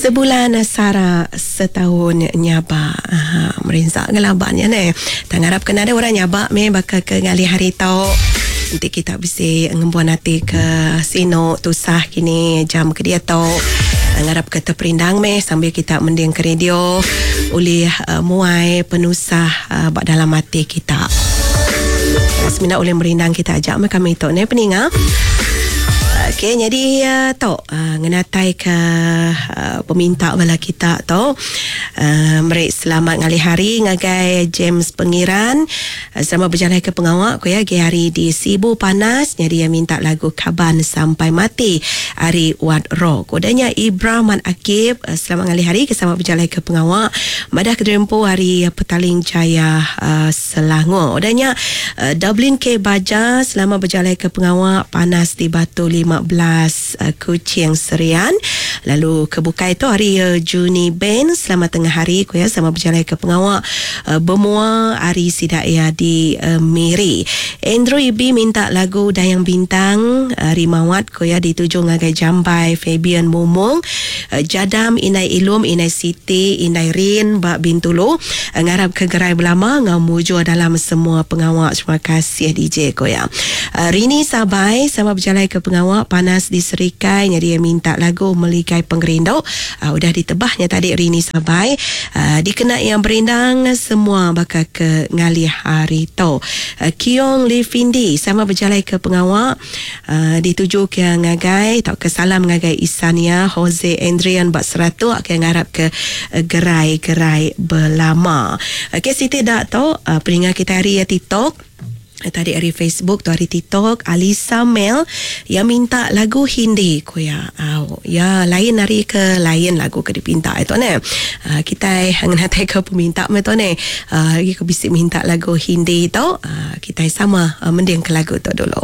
Sebulan sara setaun nyaba. Aha, merinsa ngelaban nya neh. Tang ngarap ke nadai orang nyaba meh baka ke ngalih hari tu. Enti kita bisi ngembuan ati ke sinu tusah kini jam ke diatu. Ngarap ke teperindang meh sambil kita mending ke radio ulih muai penusah ba dalam ati kita. Semina ulih merindang kita aja meh kami tu neh peninga. Okey nyadi tu ngenatai ke peminta bala kita tu meri selamat ngalih hari ngagai James Pengiran sama bejalai ke pengawa ku iya agi hari di Sibu Panas nyadi iya minta lagu Kaban Sampai Mati ari Wat Rock. Udah nya Ibra Mat Akib selamat ngalih hari ke sama bejalai ke pengawa madah kediri empu ari Petaling Jaya Selangor. Udah nya, Dublin K. Baja selama bejalaika pengawa panas di Batu 15 Kuching Serian. Lalu ke bukai tu ari Juni Ben selama tengah hari ku iya sama bejalaika pengawa bemua ari sida iya di Miri. Andrew Ibi minta lagu Dayang Bintang ari Mawat ku iya dituju ngagai Jambai Fabian Mumong, Jadam Indai Ilum Indai Siti Indai Rin ba Bintulu. Ngarap ke gerai belama enggau mujur dalam semua pengawa. Terima kasih DJ ko iya. Rini Sabai sama bejalai ke pengawa panas di Serikai nyadi iya minta lagu Meligai Pengerindu. Udah ditebah nya tadi Rini Sabai dikena iya berindang semua baka ke ngalih hari tu. Kiong Lee Findi sama bejalai ke pengawa Dituju ke ngagai tauka salam ngagai isan iya Jose Andrian ba Seratok ke ngarap ke gerai-gerai belama. Okey siti da tu peninga kitai ari TikTok tadi ari Facebook tu ari TikTok Alisa Mel iya minta lagu Hindi ku iya. Au iya lain ari ke lain lagu ke dipinta itu neh. Kitai ngenatai ke peminta meh tu neh. Agi ke bisi minta lagu Hindi tu kitai sama mending ke lagu tu dulu.